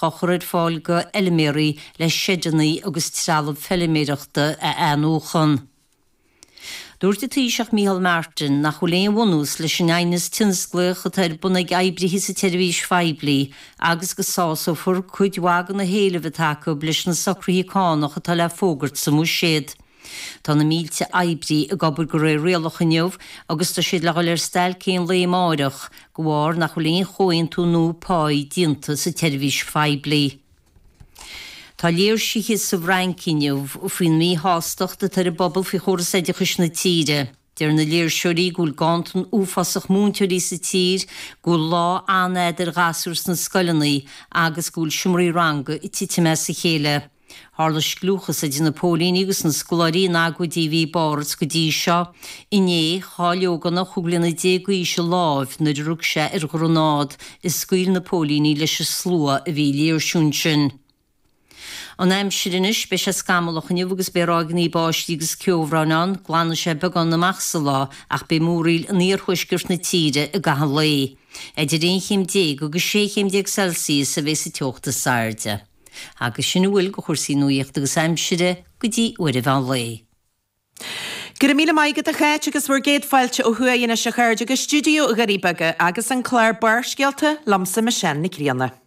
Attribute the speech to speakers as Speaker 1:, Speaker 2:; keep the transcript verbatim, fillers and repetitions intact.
Speaker 1: á chur ar fáil go fheilméaraí le seideanna agus trealamh feilméarachta a athnuachan. Dúirt an Taoiseach Micheál Martin nach bhfuil aon bhunús leis an aighneas tionsclaíoch atá ar bun ag oibrithe sa tseirbhís phoiblí agus go sásófar cuid mhaith de na héilimh atá acu leis na socruithe cánach atá le fógairt sa mBuiséad. Tá na mílte oibrí ag obair de réir rialach inniu agus tá siad le dhul ar stailc aon lae amárach de bharr nach bhfuil aon chomhaontú nua páí déanta sa tseirbhís phoiblí. Tá léirsithe sa bhFrainc inniu faoin míshástacht atá ar an bpobal faoi chóras oideachais na tíre. Deir na léirseoirí go bhfuil ganntan uafásach múinteoirí sa tír, go bhfuil lá an-fhada ar ghasúir sna scoileanna agus go bhfuil seomraí ranga ag titim as a chéile. Tharla scliúchas idir na póilíní agus na scoláirí in agóidí a bhí i bPáras go dtí seo. Inné, chaill ógánach chúig bliana déag d'aois a lámh nuair a rug sé ar ghranád a scaoil na póilíní leis an slua a bhí ag léirsiú ansin. An aimsir anois, beidh sé scamallach inniu agus beidh ráigeanna báistí agus ceobhráin ann, glanfaidh sé beagán amach sa lá ach beidh múraíl in iarthuaisceart na tíre i gcaitheamh an lae. Idir aon chéim déag agus sé chéim déag Celsius a bheidh sa teocht is airde. Agus sin a bhfuil de chúrsaí nuaíochta agus aimsire go dtí uair an mheán lae.
Speaker 2: Go raibh míle maith agat a Cháit agus bhur gcéad fáilte ó thuaidh anois a chairde go stiúideo Dhoirí Beaga agus an clár Barrscéalta liomsa Michelle Nic Grianna.